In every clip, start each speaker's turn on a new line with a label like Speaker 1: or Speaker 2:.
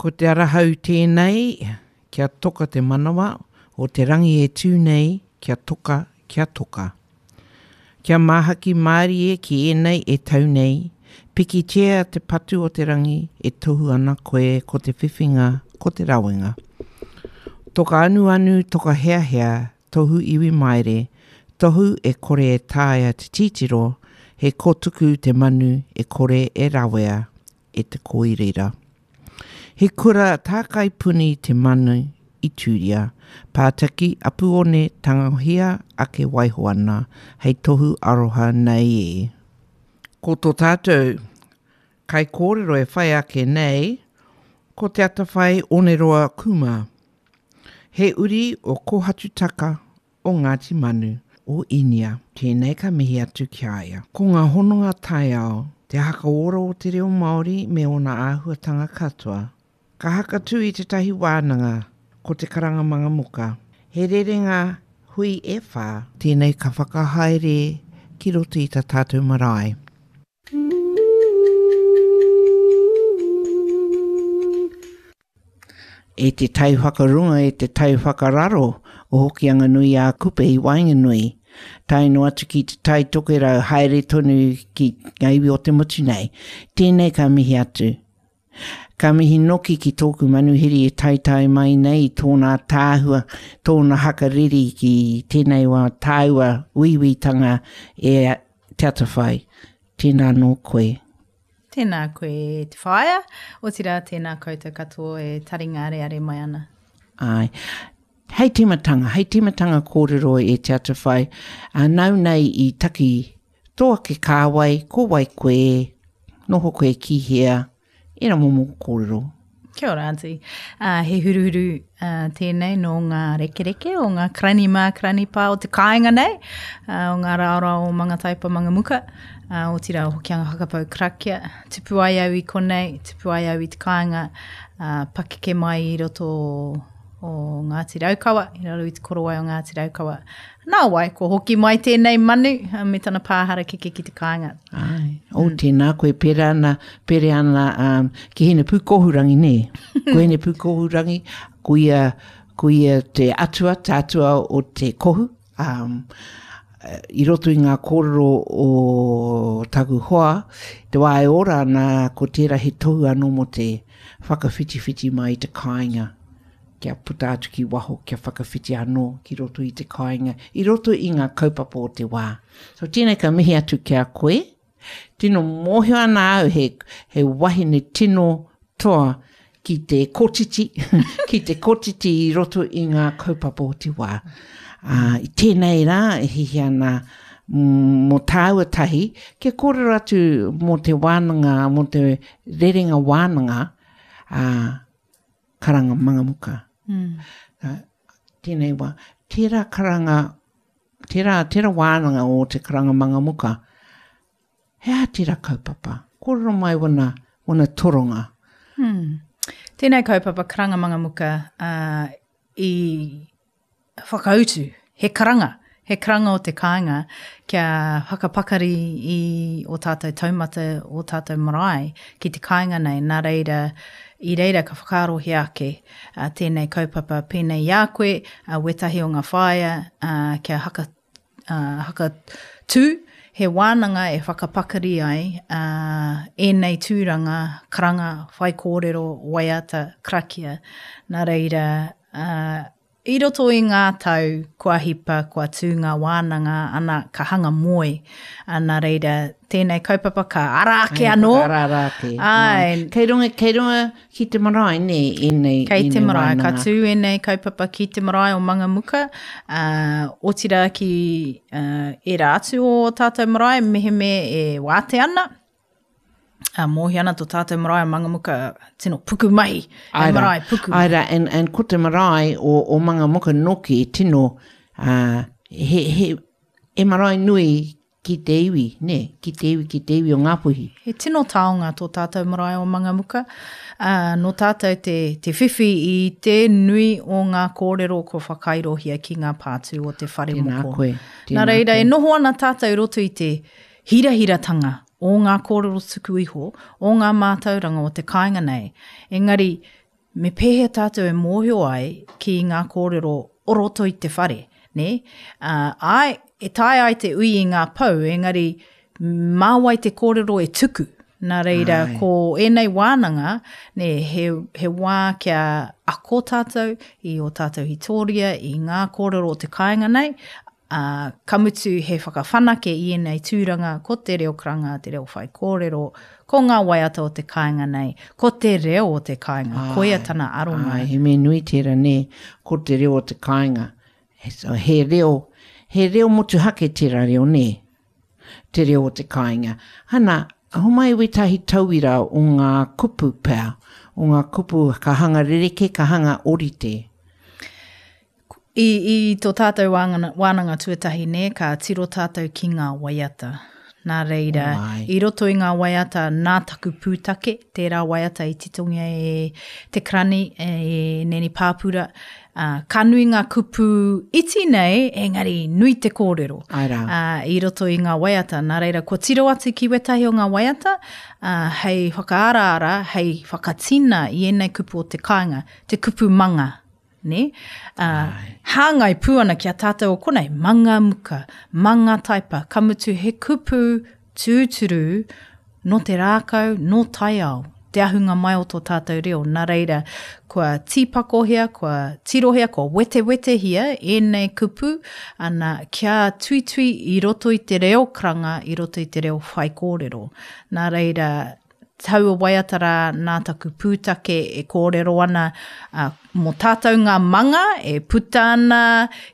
Speaker 1: Ko te arahau tēnei, kia toka te manawa, o te rangi e tū nei, kia toka, kia toka. Kia māhaki mārie ki ēnei e tau nei, pikitia te patu o te rangi e tohu ana koe ko te whiwhinga, ko te rawenga. Toka anuanu, toka heahea, tohu iwi maere, tohu e kore e taea te titiro, he kotuku te manu e kore e rawea e te kōiriira. He kura tākai puni te manu i tūria, pātaki apuone tangohia ake waiho ana hei tohu aroha nei e. Ko tō tātou kaikōrero e whai ake nei, ko Te Atawhai Oneroa Kuma. He uri o Kōhatutaka o Ngāti Manu, o Inia. Tēnei ka mihi atu ki a ia. Ko ngā hononga taiao, te hakaora o te reo Māori me ōna āhuatanga katoa. Ka hakatū i tētahi wānanga, ko Te Karanga Mangamuka. He rerenga hui e whā. Tēnei ka whakahaere ki roto i tā tātou marae. E te tai whakarunga, e te tai whakararo o Hokianga-nui-ā-Kupe i waenganui, tae noa atu ki te Tai Tokerau, haere tonu ki ngā iwi o te motu nei. Tēnei ka mihi atu. Ka mihi noki ki tōku manuhiri e taetae mai nei i tōna ataahua, tōna hakariri ki tēnei wā tāua uiuitanga e Te Atawhai. Tēnā nō koe.
Speaker 2: Tēnā koe e te whaea, otirā tēnā koutou katoa e taringa areare mai ana.
Speaker 1: Āe. Hei tīmatanga, hei tīmatanga kōrero e Te Atawhai, ā, nāu nei i taki tō ake kāwai, ko wai koe, noho koe ki hea, ērā momo kōrero.
Speaker 2: Kia ora, Aunty. Uh, he huruhuru uh, tēnei nō ngā rekereke o ngā karani mā, karani pā o te kāinga nei, uh, o ngā raorao o Mangataipa, Mangamuka, uh, otirā o Hokianga Whakapau Karakia. Tupu ai au i konei, tupu ai au i te kāinga, uh, pakeke mai i roto o, o Ngāti Raukawa, i raro i te korowai o Ngāti Raukawa. Nā wai, kua hoki mai tēnei manu me tana pā harakeke ki te kāinga.
Speaker 1: Ai, oh, mm. tēnā koe, pērā ana, pērā ana um, ki Hine Pūkohurangi, nē? Ko Hine Pūkohurangi, ko ia, ko ia te atua, te atua o te kohu. Um, i roto i ngā kōrero o taku hoa, te wā e ora ana, ko tērā he tohu anō mō te whakawhitiwhiti mai i te kāinga. kia puta atu ki waho, kia whakawhiti anō ki roto i te kāinga, i roto i ngā kaupapa o te wā. So tēnei ka mihi atu ki a koe. Tino mōhio ana au he, he wahine tino toa ki te kotiti, ki te kotiti i roto i ngā kaupapa o te wā. Uh, i tēnei rā e hihi ana mō tāua tahi, kia kōrero atu mō te wānanga, mō te rerenga wānanga, uh, karanga mangamuka. Mm. Uh, tēnei wā, tērā karanga, tērā, tērā wānanga o te karanga mangamuka, he aha tērā kaupapa? Kōrero mai wana, wana toronga.
Speaker 2: Mm. Tēnei kaupapa karanga mangamuka uh, i whakautu, he karanga, he karanga o te kāinga kia whakapakari i o tātou taumata, o tātou marae ki te kāinga nei. Nā reira, i reira ka whakaarohia ake uh, tēnei kaupapa pēnei i a koe, uh, wētahi o ngā whāea uh, kia haka, uh, hakatū he wānanga e whakapakari ai uh, ēnei tūranga, karanga, whaikōrero, waiata, karakia. Nā reira, uh, I roto i ngā tau kua hipa, kua tū ngā wānanga, ana, ka hanga moe. Ā, nā reira, tēnei kaupapa ka ara ake anō.
Speaker 1: Ka ara ara ake.
Speaker 2: Āe.
Speaker 1: Kei runga, kei runga ki te marae, nē, ēnei,
Speaker 2: Kei te marae, ka tū ēnei kaupapa ki te marae o Mangamuka, ā, otirā ki, ā, ērā atu o ō tātou marae, mehemea e wātea ana. Uh, mōhio ana tō tātou marae o Mangamuka, tino puku mahi, he marae puku
Speaker 1: mahi. Aira, and, and ko te marae o, o Mangamuka noki, tino, uh, he, he, he marae nui ki te iwi, ne, ki te iwi, ki te iwi o Ngāpuhi.
Speaker 2: He tino taonga tō tātou marae o Mangamuka. Uh, nō tātou te, te whiwhi i te nui o ngā kōrero kua whakairohia ki ngā pātū o te whare
Speaker 1: tēnā
Speaker 2: moko.
Speaker 1: Koe, tēnā
Speaker 2: Nā reira,
Speaker 1: koe.
Speaker 2: e noho ana tātou i roto i te hirahiratanga o ngā kōrero tuku iho, o ngā mātauranga o te kāinga nei. Engari, me pēhea tātou e mōhio ai ki ngā kōrero o roto i te whare, nē? Ā, āe, e taea ai te ui i ngā pou, engari mā wai te kōrero e tuku? Nā reira, Ai. ko ēnei wānanga, nē, he, he wā kia ako tātou i ō tātou hitōria, i ngā kōrero o te kāinga nei, ā, ka mutu he whakawhanake i ēnei tūranga, ko te reo karanga, te reo whaikōrero, ko ngā waiata o te kāinga nei, ko te reo o te kāinga, koia tana aronga.
Speaker 1: Āe, he mea nui tērā, nē, ko te reo o te kāinga. He reo, he reo motuhake tērā reo, nē? Te reo o te kāinga. Hana, homai wētahi tauira o ngā kupu pea, o ngā kupu ka hanga rerekē, ka hanga orite.
Speaker 2: I, i tō tātou wānanga, wānanga tuatahi nē, ka tiro tātou ki ngā waiata. Nā reira, oh, i roto i ngā waiata nā taku pūtake, tērā waiata i titongia e Te Karani, e Neni Pāpura, ā, ka nui ngā kupu iti nei, engari nui te kōrero.
Speaker 1: Āe rā.
Speaker 2: Ā, i roto i ngā waiata. Nā reira, kua tiro atu ki wētahi o ngā waiata, ā, hei whakaaraara, hei whakatina i ēnei kupu o te kāinga, te kupu manga, nē? Ā, hāngai pū ana ki a tātou o konei, manga muka, manga taipa, ka mutu he kupu tūturu nō te rākau, nō taiao, te ahunga mai o tō tātou reo. Nā reira, kua tīpakohia, kua tirohia, kua wetewetehia ēnei kupu, ana, kia tuitui i roto i te reo karanga, i roto i te reo whaikōrero. Nā reira, taua waiata rā nā taku pūtake e kōrero ana uh, mō tātou ngā manga e puta ana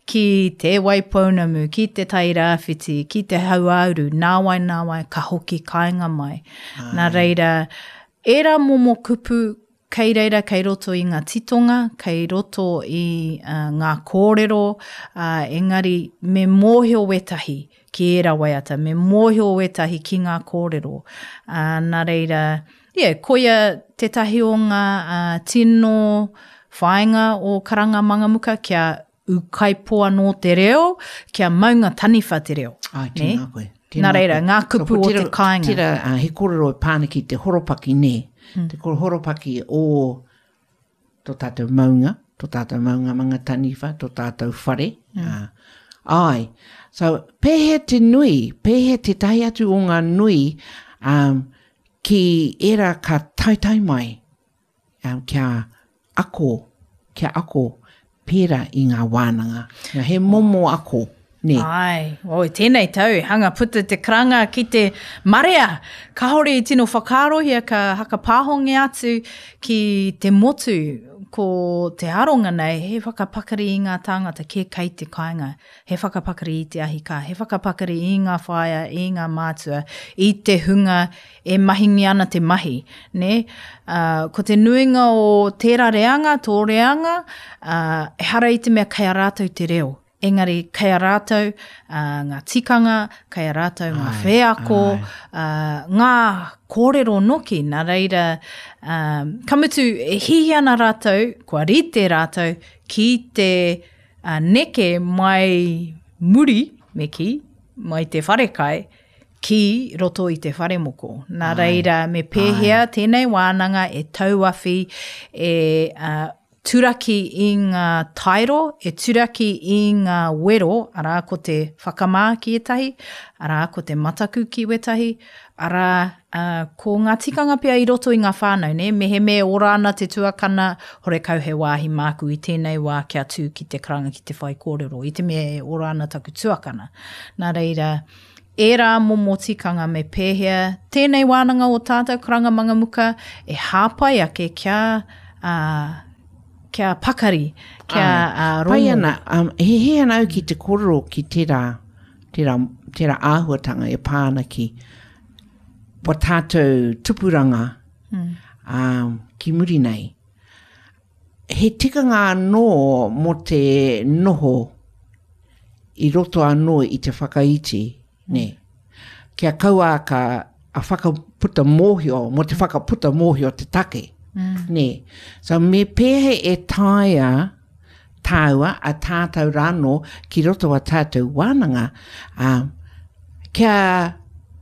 Speaker 2: ki Te Waipounamu, ki Te Tairāwhiti, ki Te Hauāuru, nāwai nāwai ka hoki kāinga mai. Ai. Nā reira, ērā momo kupu kei reira kei roto i ngā titonga, kei roto i uh, ngā kōrero, uh, engari me mōhio wētahi ki ērā waiata, me mōhio wētahi ki ngā kōrero. Uh, nā reira, yeah, koia tētahi o ngā uh, tino whāinga o Karanga Mangamuka kia ūkaipō anō te reo, kia maunga taniwha te reo.
Speaker 1: Ai, tēnā koe.
Speaker 2: Tēnā Nā reira, ngā kupu o te kāinga.
Speaker 1: Tira, uh, he kōrero e pā ana ki te horopaki, nē. Mm. Te horopaki o tō tātou maunga, tō tātou maunga manga taniwha, tō tātou whare. Mm. Uh, ai. So, pēhea te nui, pēhea tētahi atu o ngā nui um, ki ērā ka taetae mai um, kia ako, kia ako pērā i ngā wānanga. Nā, he momo ako, nē.
Speaker 2: Āe, oi, tēnei tau, hanga puta te karanga ki te marea. Kāore i tino whakaarohia ka hakapāhongia atu ki te motu ko te aronga nei he whakapakari i ngā tāngata kē kei te kāinga, he whakapakari i te ahi kā, he whakapakari i ngā whaea, i ngā mātua, i te hunga e mahingia ana te mahi, nē? Ā, ko te nuinga o tērā reanga, tō reanga, ā, ehara i te mea kei a rātou te reo, engari kei a rātou ā, ngā tikanga, kei a rātou ngā wheako, ā, ngā kōrero noki, nā reira, ā, ka mutu e hiahia ana rātou, kua rite rātou ki te ā, neke mai muri, me kī, mai te wharekai, ki roto i te wharemoko. Nā reira, me pēhea tēnei wānanga e tauawhi, e uh, turaki i ngā tairo, e turaki i ngā wero, arā ko te whakamā ki ētahi, arā ko te mataku ki wētahi, arā uh, ko ngā tikanga pea i roto i ngā whānau, nē? Mehemea e ora ana te tuakana, horekau he wāhi māku i tēnei wā kia tū ki te karanga ki te whaikōrero, i te mea e ora ana taku tuakana. Nā reira, Ērā momo tikanga me pēhea tēnei wānanga o tātou karanga mangamuka e hāpai ake kia, ā, kia pakari, kia ā, rongo.
Speaker 1: Pai ana, um, he hē ana au ki te kōrero ki tērā, tērā, tērā āhuatanga e pā ana ki wa tātou tupuranga mm. um, ki muri nei. He tikanga anō mō te noho i roto anō i te whakaiti, nē. Kia kaua ka a whakaputa mōhio, mō te whakaputa mōhio te take, mm. nē. So me pēhea e taea tāua, a tātou rānō ki roto a tātou wānanga, ā, kia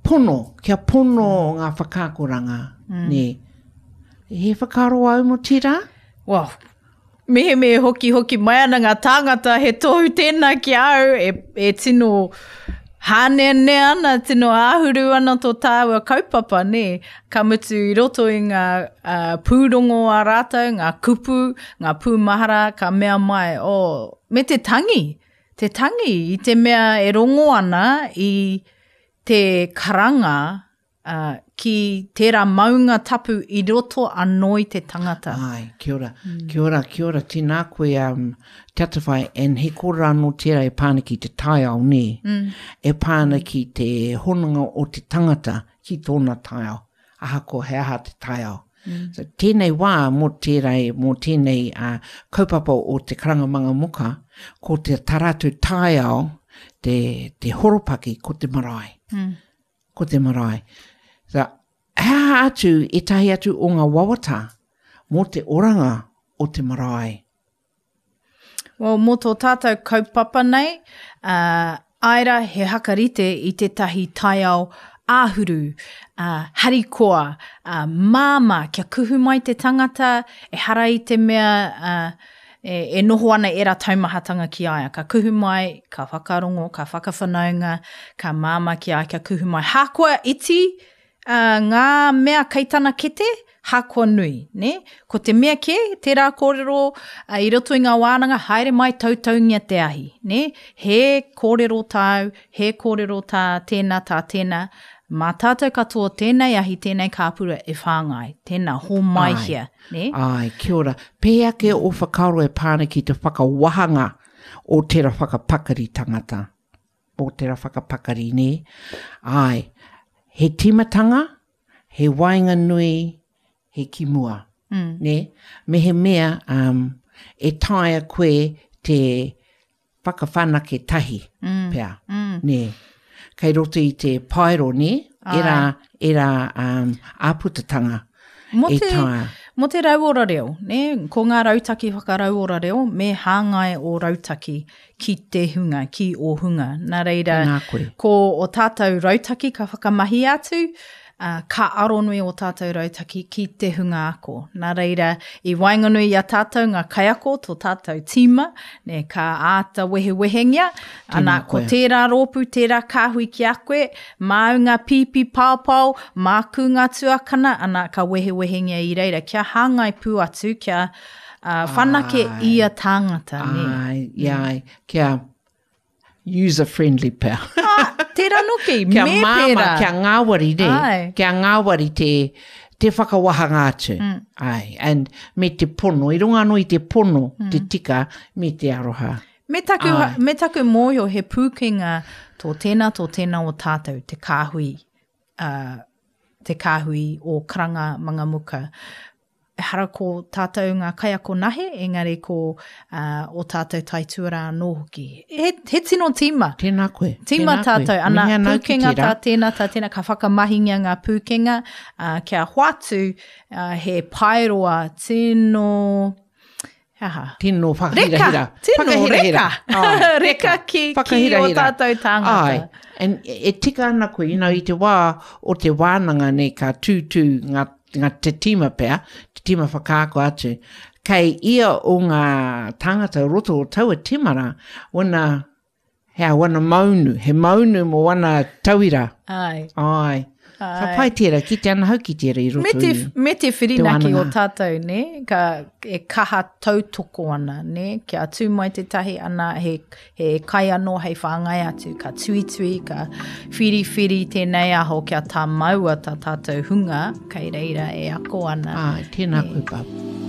Speaker 1: pono, kia pono ngā whakaakoranga, mm. nē. He whakaaro au mō tērā?
Speaker 2: Well, mehemea e hokihoki mai ana ngā tāngata, he tohu tēnā ki a au e, e tino hāneanea ana, tino āhuru ana tō tāua kaupapa, nē. Ka mutu i roto i ngā uh, pūrongo a rātou, ngā kupu, ngā pūmahara, ka mea mai, oh, me te tangi, te tangi i te mea e rongo ana i te karanga ā, ki tērā maunga tapu i roto anō i te tangata.
Speaker 1: Āe, kia ora, kia ora, kia ora, tēnā koe, um, Te Atawhai, and he kōrero anō tērā e pā ana ki te taiao, nē? Mm. E pā ana ki te hononga o te tangata ki tōna taiao, ahakoa he aha te taiao. Mm. So, tēnei wā mō tērā, mō tēnei uh, kaupapa o te karanga manga muka, ko te tā rātou taiao, te, te horopaki, ko te marae. Mm. Ko te marae. So, he aha atu ētahi atu o ngā wawata mō te oranga o te marae?
Speaker 2: Well, mō tō tātou kaupapa nei, uh, āe rā he hakarite i tētahi taiao āhuru, uh, harikoa, uh, māmā, kia kuhu mai te tangata, ehara i te mea uh, e, e noho ana ērā taumahatanga ki a ia. Ka kuhu mai, ka whakarongo, ka whakawhanaunga, ka māmā ki a ia kia kuhu mai. Hākoa iti uh, ngā mea kei tana kete, hākoa nui. Ne? Ko te mea kē, tērā kōrero uh, i roto i ngā wānanga, haere mai tautaungia te ahi. Ne? He kōrero tāu, he kōrero tā tēnā, tā tēnā. Mā tātou katoa tēnei ahi, tēnei kāpura e whāngai. Tēnā, hōmaihia.
Speaker 1: Nē? Āe, kia ora. Pēhea ake ō whakaaro e pā ana ki te whakawahanga o tera whakapakari tangata? O tera whakapakari, nē? Āe, he tīmatanga, he waenganui, he ki mua. Mm. Nē? Mehemea um, e taea koe te whakawhanake tahi mm. pea, mm. nē. Kei roto i te paero, nē, era, era um, āputatanga
Speaker 2: Mō te, mō te rauora reo, nē, ko ngā rautaki whakarauora reo, me hāngai o rautaki ki te hunga, ki o hunga. Nā reira, ko o tātou rautaki ka whakamahi atu, ā, ka aronui ō tātou rautaki ki te hunga ako. Nā reira, i waenganui i a tātou ngā kaiako, tō tātou tīma, nē, ka āta wehewehengia, ana, ko tērā rōpū, tērā kāhui ki a koe, māu ngā pīpī paopao, māku ngā tuakana, ana, ka wehewehengia i reira, kia hāngai pū atu, kia uh, whanake ia tāngata.
Speaker 1: Nē. Ai, ai, kia user friendly pea.
Speaker 2: Ah, tērā noki,
Speaker 1: me pērā. Kia māmā, kia ngāwari, ne? Ai. Kia ngāwari te, te whakawahanga atu. Mm. Ai, and me te pono, i runga anō i te pono, mm. te tika, me te aroha.
Speaker 2: Me taku, Ai. me taku mōhio he pūkenga tō tēnā, tō tēnā o tātou, te kāhui, uh, te kāhui o Karanga Mangamuka. Ehara ko tātou ngā kaiako nahe, engari ko uh, o tātou taituarā anō hoki. He, he tino tīma.
Speaker 1: Tēnā koe.
Speaker 2: Tīma tēnā tātou. Koe. Ana, pūkenga tā tēnā, tā tēnā, ka whakamahingia ngā pūkenga uh, kia hoatu uh, he paeroa tino... He aha?
Speaker 1: Tino whakahirahira.
Speaker 2: Reka, tino whakahirahira. reka. Ai, reka ki, ki o tātou tāngata.
Speaker 1: Ai, and e tika ana koe, you know, i te wā o te wānanga nei ka tūtū ngā, ngā te tīma pea, te tīma whakaako atu, kei ia o ngā tāngata o roto o taua tīma rā, wana He a wana maunu, he maunu mō wana tauira.
Speaker 2: Ai.
Speaker 1: Ai. Ka pai tērā, ki te ana hau ki tērā i roto
Speaker 2: me te, i Me te whirinaki o tātou, ne? Ka, e kaha tautoko ana, ne? Kia tū mai tētahi ana, he, he kai anō hei whāngai atu, ka tuitui, ka whiriwhiri tēnei aho kia tā maua tā tātou hunga kei reira e ako ana.
Speaker 1: Ai, tēnā koe, Bub.